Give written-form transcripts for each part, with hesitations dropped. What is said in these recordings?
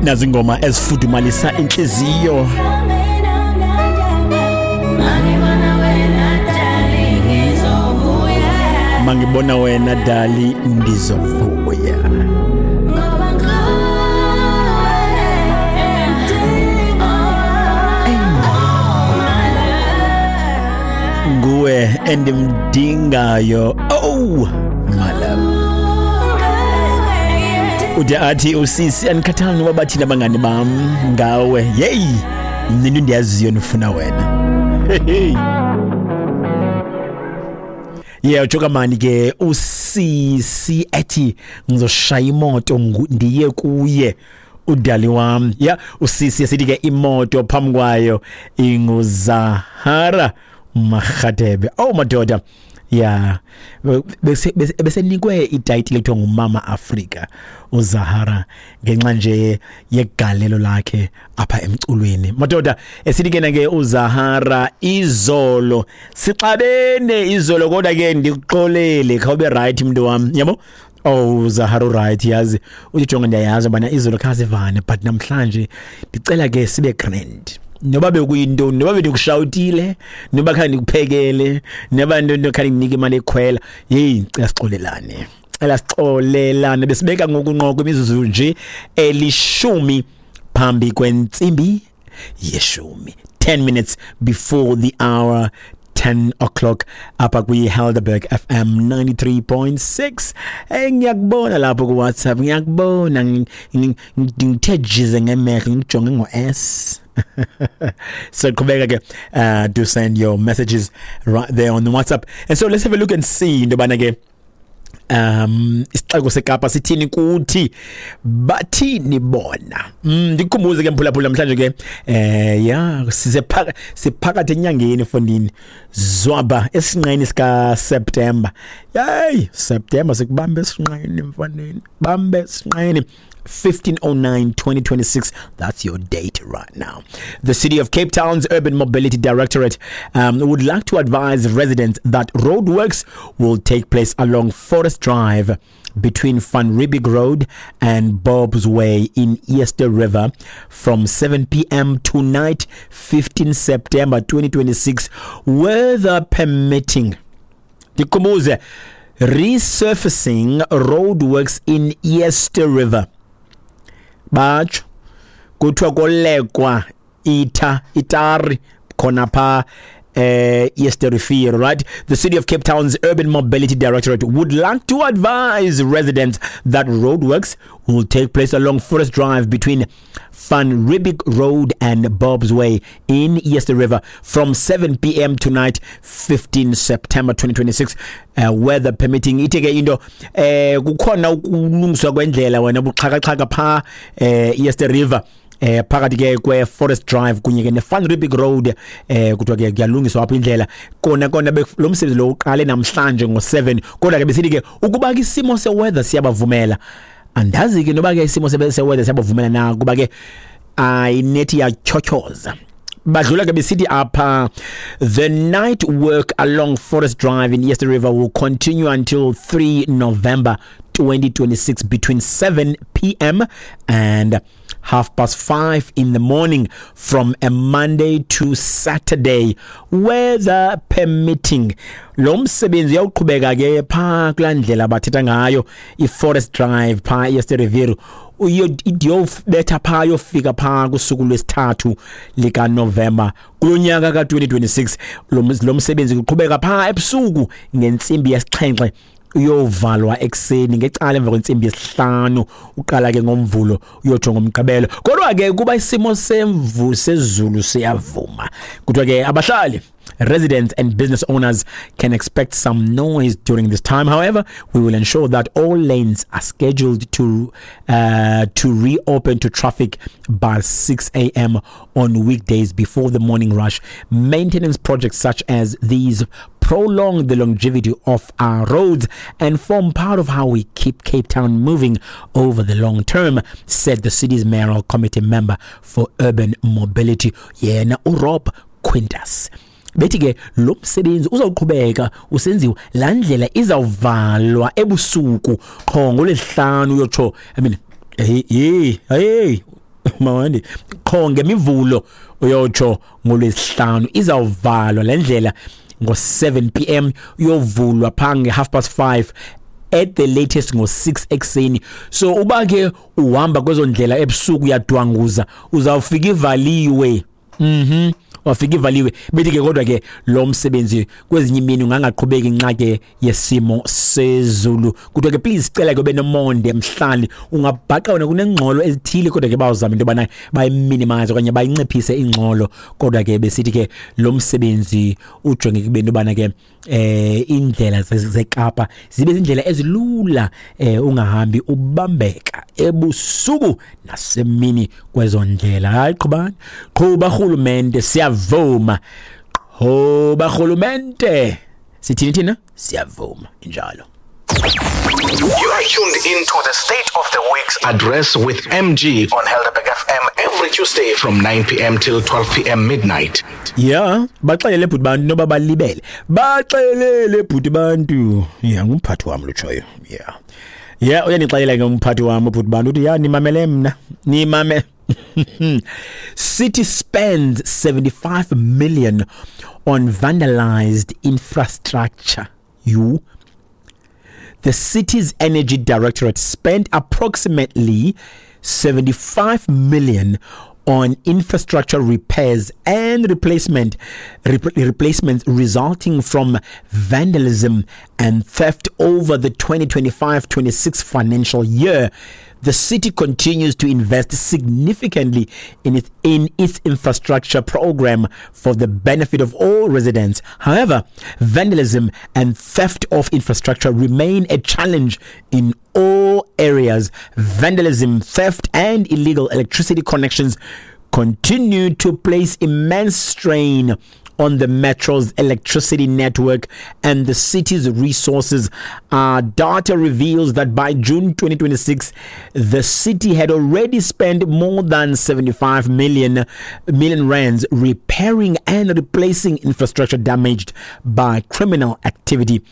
Nazi ingoma ezifudumalisa intliziyo. Mangibona wena dali ndizovuya. Nguwe endimdingayo, oh my love. Ude athi usisi, andikhathali noba bathini abangani bam ngawe, yeyi, mna into endiyaziyo ndifuna wena. Hey. Yeah, utsho kamani ke usisi ethi ngizoshaya imoto ndiye kuye udali wam. Yeah, usisi esithi ke imoto phambi kwayo inguZahara Marhadebe. Oh madoda. Yeah, besenikwe itayitile ekuthiwa nguMama Afrika uZahara ngenxa nje yegalelo lakhe apha emculweni. Madoda, esithi ke ke uZahara, izolo sixabene izolo, kodwa ke ndikuxolele, khawube right mntu wam, yabo. Oh Zahara, right, yazi uthi jonga, ndiyayazi ubana izolo khasivane, but namhlanje ndicela ke sibe grand, noba bekuyintoni, noba bendikushawutile, noba khange ndikuphekele, noba nto khange ndinike imali ekhwela, yeyi, ndicela sixolelane, cela sixolelane. Besibeka ngoku nqoko imizuzu nje 10 phambi kwentsimbi yeshumi, 10 minutes before the hour 10 o'clock apha kwi-Helderberg FM 93.6. Hey, ngiyakubona lapho ku-WhatsApp, ngiyakubona, ngithe jize ngemehlo, ngikujonge ngo-S. So qhubeka ke, do send your messages right there on the WhatsApp. And so let's have a look and see into yobana ke isixeko seKapa sithini kuthi, bathini bona. Ndikukhumbuze ke mphulaphula, namhlanje ke ya, sisephaka siphakathi enyangeni fondini, zwaba esinqeni sika September. Hey, September sikubambe esinqeni mfaneni, bambe esinqeni. 1509 2026, that's your date right now. The City of Cape Town's Urban Mobility Directorate would like to advise residents that roadworks will take place along Forest Drive between Van Riebeeck Road and Bob's Way in Eerste River from 7 p.m. tonight, 15 September 2026, weather permitting. Ndikhumbuze, resurfacing roadworks in Eerste River. Batsho kuthiwa kolekwa itha itari khona pha Eerste Rivier, right? The City of Cape Town's Urban Mobility Directorate would like to advise residents that roadworks will take place along Forest Drive between Van Riebeeck Road and Bob's Way in Eerste River from 7 p.m. tonight, 15 September 2026, weather permitting. Ithi ke into kukhona ukulungiswa kwendlela wena buxhakaxhaka pha Eerste River, phakathi ke kwe Forest Drive kunye ke ne Van Riebeeck Road. Kuthiwa ke kuyalungiswa apha indlela kona kona. Lo msebenzi lo uqale namhlanje ngo7, kodwa ke besithi ke ukuba ke isimo seweather siyabavumela. Andazi ke noba ke isimo seweather siyabavumela na, kuba ke ayinethi yatyhotyhoza. Badlula ke besithi apha, the night work along Forest Drive in Eerste River will continue until 3 November 2026 between 7 p.m. and 5:30 in the morning from a Monday to Saturday, weather permitting. Lo msebenzi uyawuqhubeka ke phaa kulaa ndlela bathetha ngayo, i-Forest Drive phaa Eerste River, iyobetha phaa, yofika phaa kusuku lwesithathu likaNovemba kulo nyaka ka-2026. Lo msebenzi uqhubeka phaa ebusuku ngentsimbi yesixhenxe, uyovalwa ekuseni ngecala emva kwentsimbi yesihlanu. Uqala ke ngoMvulo uyotsho ngoMgqibelo, kodwa ke kuba isimo semvu sezulu siyavuma. Kuthiwa ke abahlali, residents and business owners can expect some noise during this time. However, we will ensure that all lanes are scheduled to reopen to traffic by 6 a.m. on weekdays before the morning rush. Maintenance projects such as these prolong the longevity of our roads and form part of how we keep Cape Town moving over the long term, said the city's mayoral committee member for urban mobility, yena uRob Quintas. Bethi ke lo msebenzi uzawuqhubeka usenziwa, laa ndlela izawuvalwa ebusuku qho ngoLwesihlanu uyotsho, I mean, hey, hey, hey. Mawandi qho ngemivulo uyotsho ngolwesihlanu izawuvalwa le ndlela ngo-7 p.m. uyovulwa phaa nge-5:30 at the latest ngo-6 ekuseni. So uba ke uhamba kwezo ndlela ebusuku uyadwanguza, uzawufika ivaliwe. Wafika ivaliwe. Bethi ke kodwa ke lo msebenzi kwezinye imini ungangaqhubeki nxa ke yesimo sezulu. Kuthiwa ke please cela ke ube nomonde mhlali, ungabhaqa wena kunengxolo ezithile, kodwa ke bawuzama into yobana bayiminimize okanye bayinciphise ingxolo. Kodwa ke besithi ke lo msebenzi ujonge ekubeni yobana ke indlela zeKapa zibe zindlela ezilula, ungahambi ubambeka ebusuku nasemini kwezo ndlela. Hayi, qhubani, qhuba rhulumente, siyavuma, qhuba rhulumente, sithini thina, siyavuma injalo. You are tuned into the State of the Week's Address with MG on Helderberg FM every Tuesday from 9 p.m. till 12 p.m. midnight. Yeah, baxelele bhuti bantu noba balibele. Baxelele bhuti bantu. Yeah, ngumphathi wami lotshoyo. Yeah. Yeah, uyanixelela ke umphathi wami ubhuti bantu uthi ya nimamele mna. Nimame. City spends 75 million on vandalized infrastructure. You The city's energy directorate spent approximately 75 million on infrastructure repairs and replacements resulting from vandalism and theft over the 2025-26 financial year. The city continues to invest significantly in its infrastructure program for the benefit of all residents. However, vandalism and theft of infrastructure remain a challenge in all areas. Vandalism, theft, and illegal electricity connections continue to place immense strain on the metro's electricity network and the city's resources. Data reveals that by June 2026, the city had already spent more than 75 million rands repairing and replacing infrastructure damaged by criminal activity.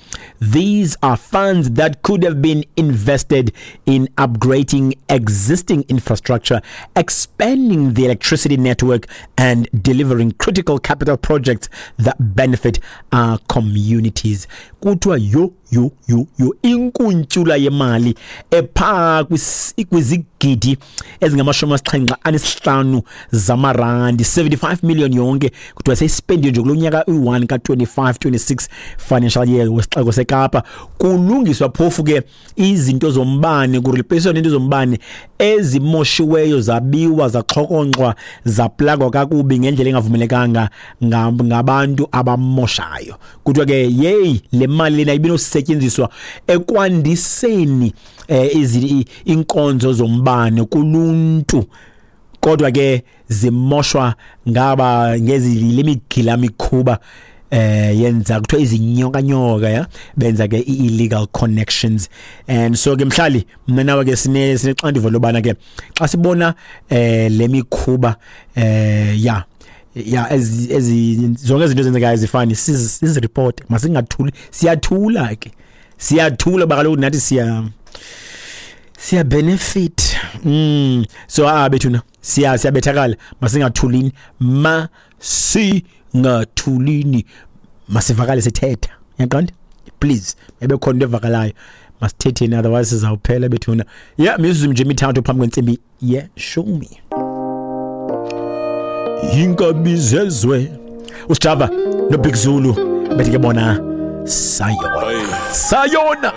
These are funds that could have been invested in upgrading existing infrastructure, expanding the electricity network, and delivering critical capital projects that benefit our communities. Kuthiwa yo yo yo yo, inkuntyula yemali ephaa kwizigidi ezingama-75 zamarandi, 75 million yonke, kuthiwa seyispendiwe nje kulo nyaka uyi-1 ka-25 26 financial year wesixeko seKapa, kulungiswa phofu ke izinto zombane, kureplacewa into zombane ezimoshiweyo, zabiwa, zaxhokonxwa, zaplagwa kakubi ngendlela engavumelekanga ngabantu abamoshayo. Kuthiwa ke yeyi, le mali lena ibinosetyenziswa ekwandiseni inkonzo zombane kuluntu, kodwa ke zimoshwa ngaba ngezi lemigila mikhuba yenza kuthiwa izinyoka nyoka ya benza ke i-illegal connections. And so ke mhlali, mna nawe ke sinexanduva lobana ke xa sibona lemikhuba ya ezi zonke izinto ezenzekayo zifani, sizireport, masingathuli. Siyathula ke, siyathula ba kaloku nathi siya benefit. So bethuna, siyabethakala, masingathulini, masingathulini, masivakale sithetha, yaqonda? Please, ebe khona into evakalayo, masithetheni, otherwise sizawuphela bethuna. Yeah, mizuzu nje 3 phambi kwentsimbi ye-10. Inkabi zezwe, uSjava noBig Zulu, bethi ke bona sayona sayona.